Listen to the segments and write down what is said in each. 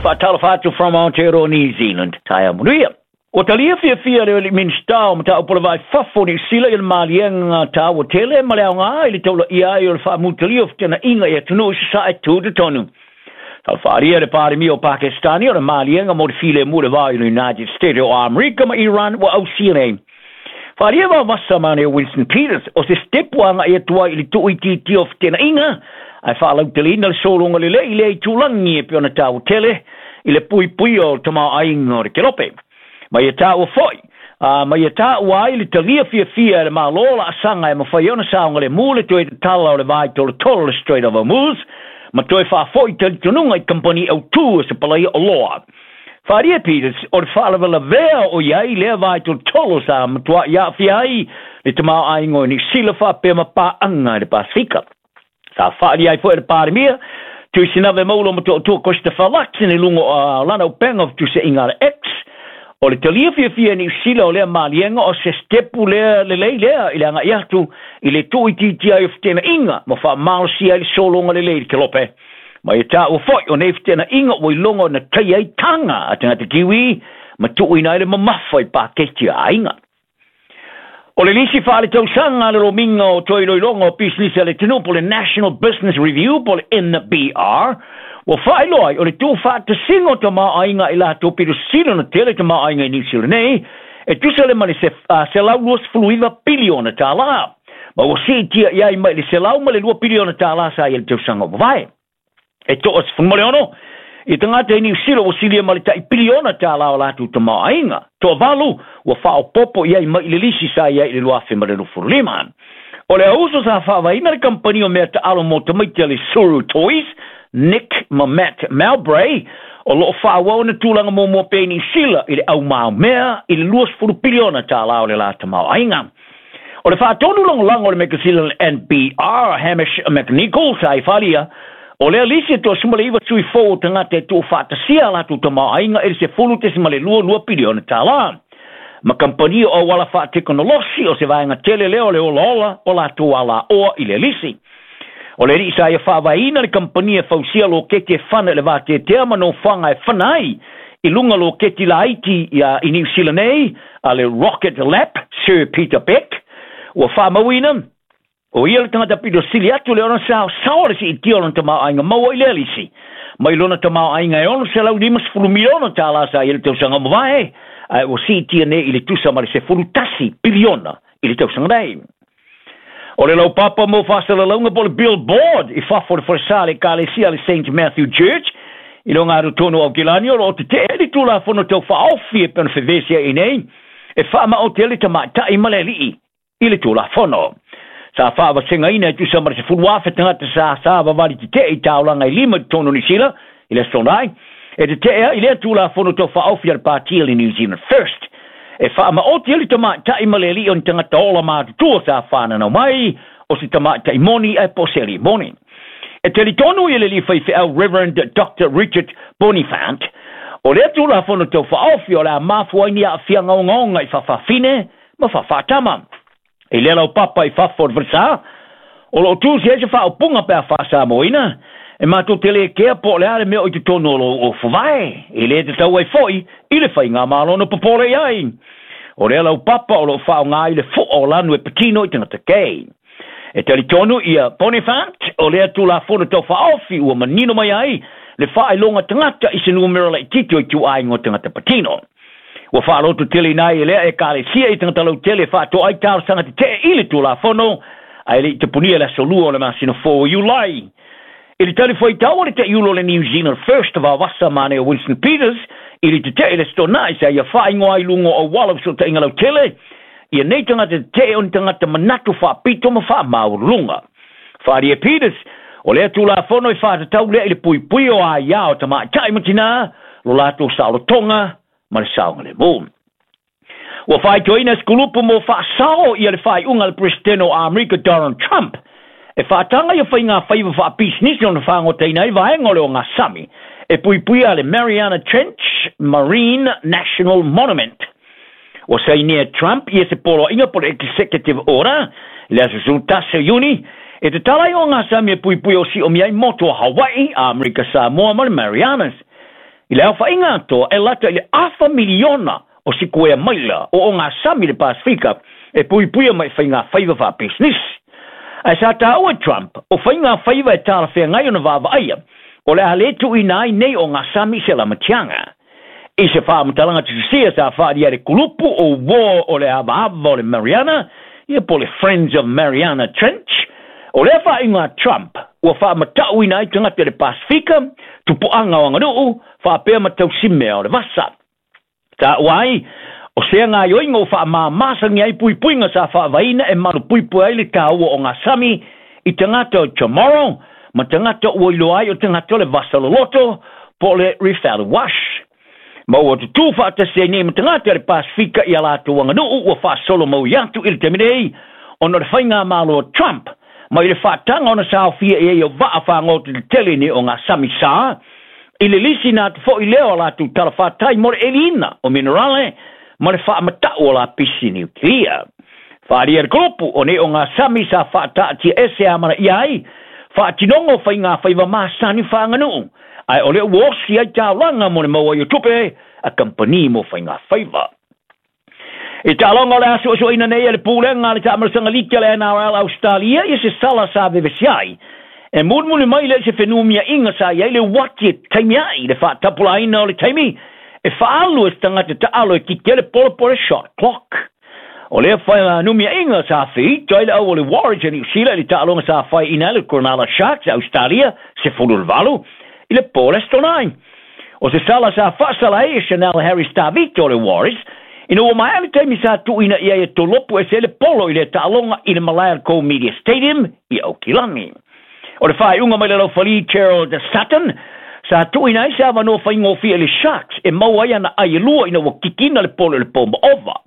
Faatalofa atu from Aotearoa New Zealand. Taeao manuia. Ua talia fiafia e le Minisita o Mataupu o le Va i Fafo o Niu Sila i le maliega taua tele ma le aoga i le taulaia ai o le faamutalia o fetenaiga i atunuu i sasae tutotonu. Sa faaalia e le Palemia o Pakistani o le maliega mo le filemu i le va o le United States o Amerika ma Iran ua ausia nei. Faaalia vavasa ma o Winston Peters o se sitepu agai atu ai i le tuuitiitia o fetenaiga ae faalauteleina le sologa lelei i lea itulagi e pei ona taua tele i le puipuia o le tamaoaiga o le kelope. Ma ia taua foi, ma ia taua ai le talia fiafia e le Malo laasaga e mafai ai ona saogalemu le toe tatala o le va i tolotolo le Strait of Hormuz ma toe faafoi talitonuga i kamupani autū e sapalaia oloa. Faaalia Peters, o le faalavelavea o i ai lea va i tolotolo sa matuai aafia ai le tamaoaiga o Niu Sila faapea ma paaga i le Pasefika. Sa faaalia ai foi e le Palemia, Tuisinave Maulo Motootua Christopher Luxon i luga o lana upega o fetusiaiga a le X, o le talia fiafia e Niu Sila o lea maliega o se sitepu lea lelei lea i le agai atu i le tuuitiitia ai o fetenaiga ma faamalosia ai le sologa lelei i le kelope. Ma ia taua foi o nei fetenaiga ua iloga ona taia ai taga a tagata Kiwi ma tuuina ai le mamafa i paketi a aiga. O le lisi faaletausaga a le Lomiga o Toe Iloiloga o Pisinisi a le Atunuu po o le National Business Review po o le NBR, ua faailoa ai o le tuufaatasiga o tamaoaiga i latou pito sili ona tele tamaoaiga i Niu Sila nei, e tusa lea ma le $129 piliona tālā, ma ua siitia i ai mai le $102 piliona tālā sa i ai le tausaga ua mavae. E toa 16 i tagata i Niu Sila ua silia ma le tai piliona tālā o latou tamaoaiga. Toavalu ua faaopoopo i ai mai i le lisi sa i ai i le 2025. O le auso sa faavaeina le kamupani o mea taalo mo tamaiti a le Suru Toys, Nick ma Matt Mowbray, o lo o faaauau ona tulaga muamua pea i Niu Sila i le aumaomea i le 20 piliona tālā o le la tamaoaiga. O le faatonu lagolago o le mekasina o le NBR, Hamish McNicol, sa i falia, o lea lisi e toa 19 sui fou o tagata e tuufaatasia a latou tamaoaiga i le 10.22 piliona tālā. Ma kamupani o auala faatekonolosi o se vaega tele lea o le olaola o latou alaoa i lea lisi. O le alii sa ia faavaeina le kamupani e fausia loketi e fana i le vateatea ma nofoaga e fana ai i luga loketi laiti i Niu Sila nei a le Rocket Lab, Sir Peter Beck, ua faamauina, o ia le tagata pito sili atu le ona saosaoa le siitia o lona tamaoaiga maua i lea lisi. Mai lona tamaoaiga e $650 miliona tālā sa i ai le tausaga ua mavae, ae ua siitia nei i le tusa ma le 11 piliona i le tausaga nei. O le laupapa mo faasalalauga po o le billboard i fafo o le falesa a le Ekalesia a le Saint Matthew Church i le ogatotonu o Aokelani o lo o tetee ai le Tulafono Tau Faaofi e pei ona fevesia'i nei e faamaote ai le tamaitai ma le alii i le Tulafono. Sa faavasegaina e tusa ma le 10,000 tagata sa savavali tetee i taulaga e lima i totonu o Niu Sila i le Aso Toonai e tetee ai lea Tulafono Tau Faaofi a le Pāti a le New Zealand First e faamaoti ai le tamaitai ma le alii o ni tagata ola matutua sa fananau mai o se tamaitai moni ae po o se alii moni. E talitonu ia le alii faifeau Reverend Doctor Richard Bonifant, o lea Tulafono Tau Faaofi o le a mafua ai ni aafiaga ogaoga i faafafine ma faafaatama. I lea laupapa i fafo o le falesa, o lo o tusi ai se faaupuga pe a faa-Samoaina, e matou te le kea po o le a le mea o i totonu o lou ofuvae, e le tatau ai foi i le faigamalo ona popole i ai. O lea laupapa o lo o faaaoga ai le fo'a o lanu e patino i tagata gay. E talitonu ia Bonifant, o lea Tulafono Tau Faaofi ua manino mai ai le faailoga tagata i se numera laitiiti o ituaiga o tagata patino. Ua faaloto tele ina ai e lea Ekalesia i tagata lautele e faatoa ai talosaga tetee i le Tulafono, ae le i tapunia i le aso Lua o le masina fou o Iulai. I le talifuaitau a le taiulu o le New Zealand First vavasa manaia Winston Peters i le tetee i le Aso Toonai sa ia faaigoa ai luga o auala o fesootaiga lautele ia nei tagata tetee o ni tagata manatu faapito ma faamaualuluga. Faaalia Peters, o lea Tulafono e faatatau lea i le puipui o aia o tamaitai ma tinā, lo latou saolotoga ma le saogalemu. Ua faaitoina se kulupu mo faasao ia le faaiuga a le Peresetene o Amerika Donald Trump e faataga ia faigafaiva faapisinisi ona fagotaina ai vaega o le ogasami e puipuia le Mariana Trench Marine National Monument. Ua sainia e Trump ia se poloaiga po o le Executive Order i le aso 11 o Iuni e tatala ai ogasami e puipuia o siomia ai motu o Hawaii, Amerika Samoa ma le Marianas. I le aofaiga atoa e lata i le afa miliona o sikuea maila o ogasami le Pasifika e puipuia mai faigafaiva faapisinisi. Ae sa taua e Trump o faigafaiva e talafeagai ona vaavaaia o le a lē tuuina ai nei ogasami i se lamatiaga. I se faamatalaga tusisia sa faaalia le kulupu o uō o le avaava o le Mariana, ia po le Friends of Mariana Trench, o lea faaiuga a Trump ua faamatauina ai tagata i le Pasifika, tupuaga o aganuu, faapea ma tausimea o le vasa. Taua ai, o sea gaoioiga ua faamāmāsagi ai puipuiga sa faavaeina e malupuipui ai le taua o gasami i tagata o Chamorro ma tagata ua iloa ai o tagata o le vasa loloto po o le Refaluwasch. Ma ua tutū faatasi ai nei ma tagata le Pasifika i a latou aganuu ua faasolo maui atu i le taimi nei ona o le faigamalo a Trump mai le faataga ona saofia i ai o vaa fagota tetele nei ogasami sa i le lisiina atu foʻi lea o a latou talafatai mo le ʻeliina o minerale ma le faamataʻu o lapisi niukilia. Faaalia le kulupu o nei ogasami sa faataatia ese amanaia ai faatinoga o faigafaiva masani faaganuu, ae o lea ua osi ai taulaga mo le maua ai o tupe a kamupani mo faigafaiva. I taaloga o le a suesueina nei e le pulega a le taamalosaga liki a le NRL Ausetalia ia se sala sa vevesi ai. E mulimuli mai lea i se fenumiaiga sa i ai le uati e taimi ai le faatapulaaina o le taimi e faaalu e se tagata taalo e kiki ai le polo po o le shot clock. O lea fenumiaiga sa feita ai le au o le Warriors a Niu Sila i le taaloga sa faeaina ai le Cronulla Sharks a Ausetalia 18 i le po o le Aso Toonai. O se sala sa faasala ai e Chanel Harris Tavita o le Warriors ina ua maea le taimi sa tuuina i ai e tolopu ese ai le polo i lea taaloga i le malae o le Coal Media Stadium i Aukilani. O le faaiuga mai le laufali Gerald Sutton sa tuuina ai se avanoa faigofie i le Sharks e maua ai ana ai e lua ina ua kikina le polo i le po maova.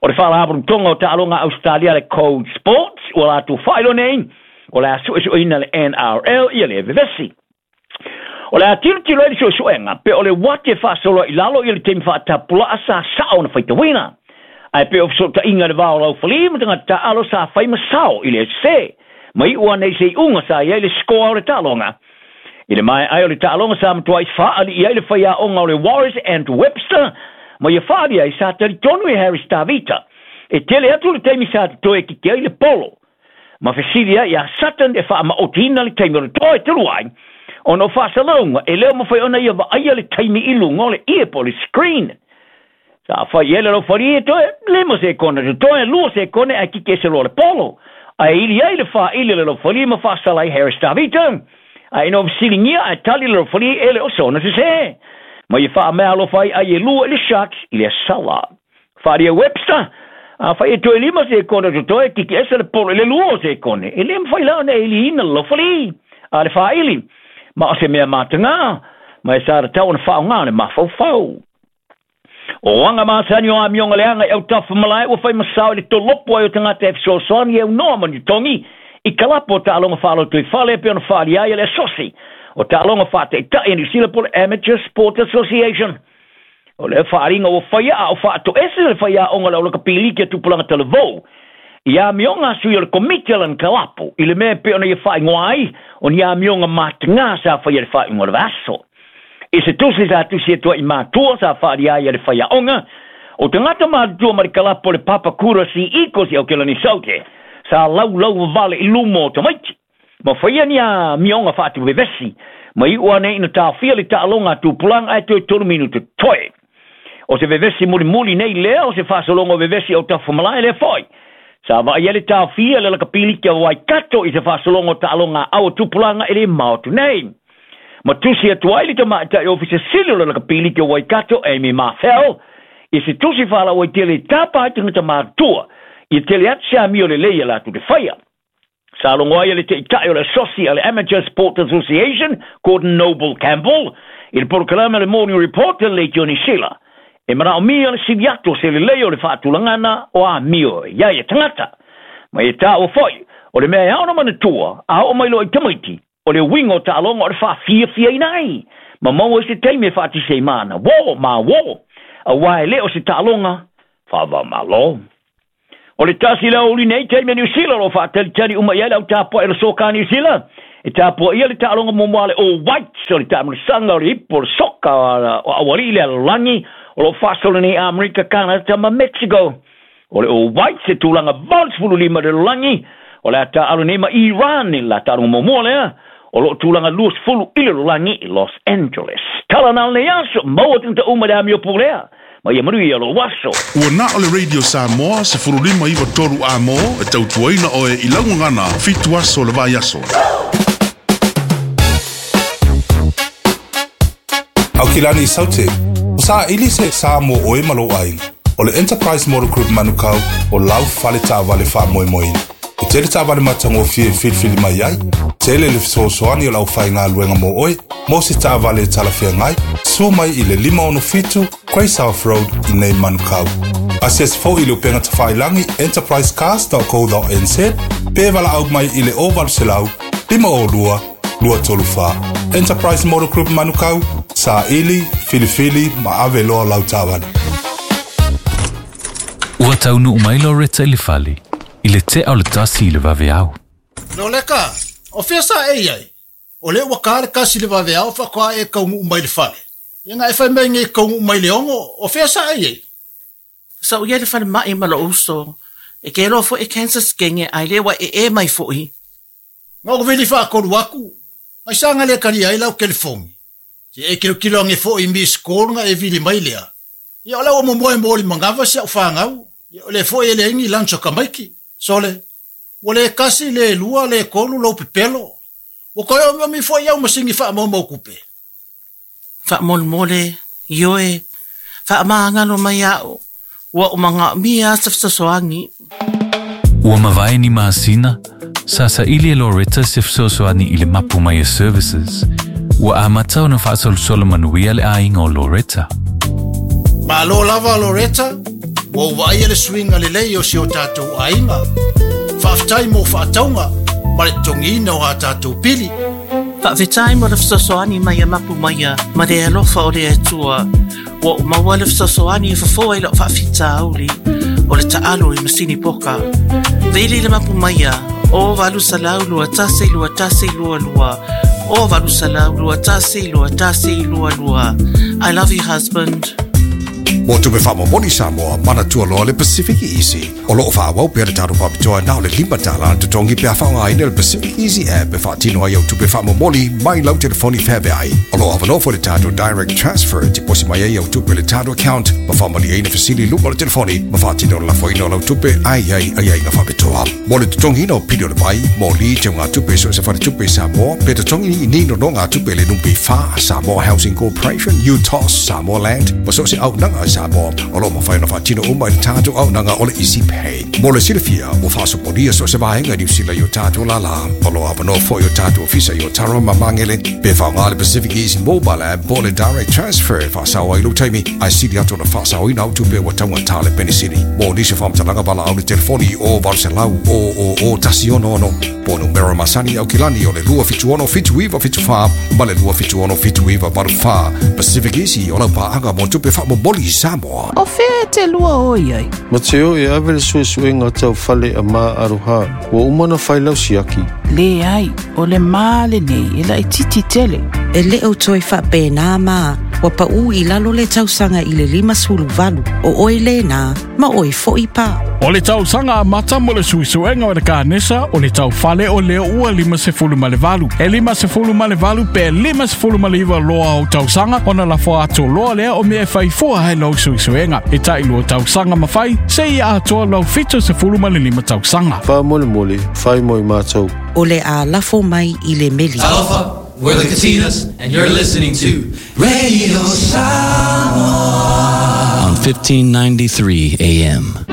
O le faalapotopotoga o taaloga a Ausetalia le Code Sports ua latou faailoa nei o le a suesueina le NRL ia lea vevesi. O le a tilotilo ai le suesuega pe o le uati e faasolo ai i lalo ia le taimi faatapulaa sa sao ona faitauina. Ae pe o fesootaiga i le va o laufali ma tagata taaalo sa fai ma sao i le sese. Ma iu ana i se iuga sa i ai le sikoa o le taaloga. I le maea ai o le taaloga sa matuai faalii ai le faiaoga o le Warriors Andrew Webster ma ia faali ai sa talitonu e Harris Tavita e tele atu le taimi sa totoe e kiki ai le polo. Ma fesili ai iā Sutton e faamaotiina le taimi o le toa e tolu ai ona o faasalauga e le o mafai ona ia vaaia le taimi i luga o le ie po o le screen. Sa fai ai le laufali e toe 5 sekone totoe, 2 sekone ae kiki ese loa le polo. Ae ili ai le faaili a le laufali ma faasala ai Harris Tavita. Ae ina ua fesiligia ae tali le laufali e le o sona sesē. Ma ia faameaalofa ai ai e lua i le Sharks i le sala. Faaalia Webster, afai e toe 5 sekone totoe, kiki ese le polo i le 2 o sekone. E le mafai la ona e iliina le laufali a le faaili. Ma o se mea matagā, ma e sa tatau ona faaaoga le mafaufau. O aga masani o amioga leaga i autafa malae ua fai ma sao i le tolopo ai o tagata e fesoasoani e aunoa ma ni togi i kalapo o taaloga faalotoifale e pei ona faaalia ai e le asosi o taaloga faataitai a Niu Sila po o le Amateur Sport Association. O lea faaaliga ua faia a o faatoese le faiaoga o le aulakapiliki a Tupulaga Talavou i amioga a sui o le komiti a lana kalapo i le mea e pei ona ia faaigoa ai o ni amioga matagā sa faia i le faaiuga o le vaiaso. I se tusi sa tusi atu ai i matua sa faaalia ai e le faiaoga o tagata matutua ma le kalapo o le Papakura Sea Eagles i Aokelani Saute sa laulau vavale i luma o tamaiti ma faia ni amioga faatuvevesi ma iu ane ina taofia le taaloga a tupulaga ae toe 3 minuta totoe. O se vevesi mulimuli nei lea o se faasologa o vevesi o tafamalae lea foi. Sa vaai ai le taofia le lakapiliki a Waikato i se faasologa o taaloga a au a tupulaga e le mao atu nei. Ma tusi atu ai le tamaitai ofisa sili o le lakapiliki o Waikato, Amy Marfell, i se tusi faalauaitele i tapa ai tagata matutua ia tele atu se amio lelei a latou te faia. Sa logo ai e le taitai o le asosi a le Amateur Sport Association, Gordon Noble Campbell, i le polokalame le Morning Report a le Leitio Niu Sila. E manaomia le sili atu o se lelei o le faatulagana o amio e i ai e tagata. Ma ia taua foi, o le mea e ao ona manatua, a oo mai loa i tamaiti, o le uiga o taaloga o le faafiafiaina ai, ma maua ai se taimi e faatisi ai ma ana uō ma uō, auā e le o se taaloga faava-o-Malo. O le tasi lea o uli nei taimi a Niu Sila o lo o faatalitali uma i ai le au tapuai o le soka a Niu Sila E tapuaia le taaloga muamua a le All Whites o le taamilosaga o le ipu o le soka o aualii i le lalolagi o lo o faasolo nei i Amerika, Kanata ma Mexico. O le All Whites e tulaga 85 i le lalolagi, o le a taaalo nei ma Iran i le la taaloga muamua lea o lo o tulaga 20 i le lalolagi i Los Angeles. Tala na o lenei aso, maua tagata uma i le amio pulea ma ia manuia lou aso. Ua na o le Radio Samoa 15 93 A mo e tautuaina oe i lau gagana 7 aso o le vaiaso. Aukilani Saute, o saili se sa mo oe ma lou aiga. O le Enterprise Motor Group Manukau o lau fale taavale faamoemoeina. E tele taavale matagofie e filifili mai ai, tele le fesoasoani o le aufaigaluega mo oe, mo se taavale e talafeagai, sua mai i le 567 Grey South Road i nei Manukau. Asiasi foi i le upega tafailagi enterprisecars.co.nz pe valaau mai i le 0800 502 234. Enterprise Motor Group Manukau, saili, filifili ma ave loa lau taavale. Ua taunuu mai Loretta i le fale i le tea o le 1 i le vaveao. Loleka, o fea sa e i ai? O lea ua ka le 1 i le vaveao faatoa e taunuu mai le fale. Ia na e fai mai nei e taunuu mai le 6, o fea sa e i ai? Sa ou i ai i le falemai ma lou uso. E ke iloa foi e cancer skenge ae le ua ee mai foi. Na ou vili faatolu atu, aisea na le talia ai lau telefoni? Se e tilotilo ane foi i miss call na e vili mai lea. Ia o la ua momoe mo le manava si au fanau. Ia o lea foi e leai ni lunch a tamaiti. Sole, ua le 1, le 2, le 3 lou pepelo. Ua toe omiomi foi au masini faamaumau tupe. Faamolemole, ioe, faamagalo mai au, ua ou manaomia se fesoasoani. Ua mavae ni masina, sa saili e Loretta se fesoasoani i le Mapu Maia Services. Ua amata ona faasolosolo manuia le aiga o Loretta. Malo lava Loretta, ua ou vaaia le suiga lelei o si o tatou aiga. Faafetai mo faatauga ma le totogiina o a tatou pili. Faafetai mo le fesoasoani mai a Mapu Maia ma le alofa o le Atua. Ua ou maua le fesoasoani e fofo ai lau faafitauli o le taalo i masini poka. Vili le Mapu Maia o 800 21 21 22 o 800 21 21 22. I love you husband. Mo tupe faamomoli Samoa, manatua loa le Pacific Easy. O loo faaauau pea le tatou faapitoa na o le $5 le totogi pe a faaaogaina le Pacific Easy app e faatino ai au tupe faamomoli mai lau telefoni feaveai. O loo avanoa foi le tatou Direct Transfer e tiposi mai ai au tupe i le tatou account ma faamalieina fesili i luma o le telefoni ma faatino le lafoina o lau tupe ae i ai aiaiga faapitoa. Mo le totogiina o pili o le vai, moli, teugatupe i so o se faletupe i Samoa, pe totogi ni nonogatupe i le NPF, Samoa Housing Corporation, UTOS, Samoa Land, ma so o se auaunaga a Samoa, o lo o mafai ona faatino uma i le tatou auaunaga o le Easy Pay. Mo le silafia, ua faasopolia so o se vaega i Niu Sila i o tatou lālā. O lo o avanoa foi o tatou ofisa i Otaru ma Magele, pe faaaoga le Pacific Easy Mobile App po o le Direct Transfer e faasao ai lou taimi, ae sili atu ona faasaoina au tupe ua taugata le penisini. Mo nisi o faamatalaga valaau le telefoni o 800 000 166 po o numera masani i Aukilani o le 276 7974 ma le 276 7984. Pacific Easy o lau paaga mo tupe faamomoli i Samoa. O fea e te lua o i ai? Ma te o e ave le suesuega tau fale a Ma Aroha, ua uma ona fai lau siaki. Leai, o le ma lenei e laitiiti tele. E le o toe faapena ma ua paū i lalo le tausaga i le 58, o oe lena, ma oe foi pa. O le tausaga amata mo le suesuega o le kanesa o le taufale o lea ua 58. E 58 pe 59 loa o tausaga ona lafo atu loa lea o mea e fai fua ai lau suesuega. E tailua tausaga ma fai, seia atoa lau 75 tausaga. Faamolemole, fai mo i matou. O le a lafo mai i le meli. Talofa, we're the Katinas, and you're listening to Radio Samoa on 1593 AM.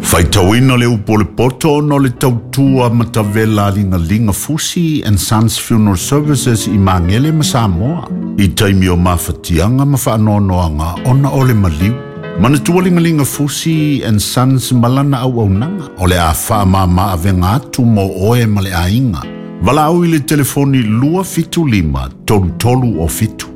Faitauina le upu o le poto ona o le tautua matavela a Ligaliga Fusi and Sons Funeral Services i Magele ma Samoa i taimi o mafatiaga ma faanoanoaga ona o le maliu. Manatua Ligaliga Fusi and Sons ma lana auaunaga o le a faamama avega atu mo oe ma le aiga. Valaau i le telefoni 275 33 o 7.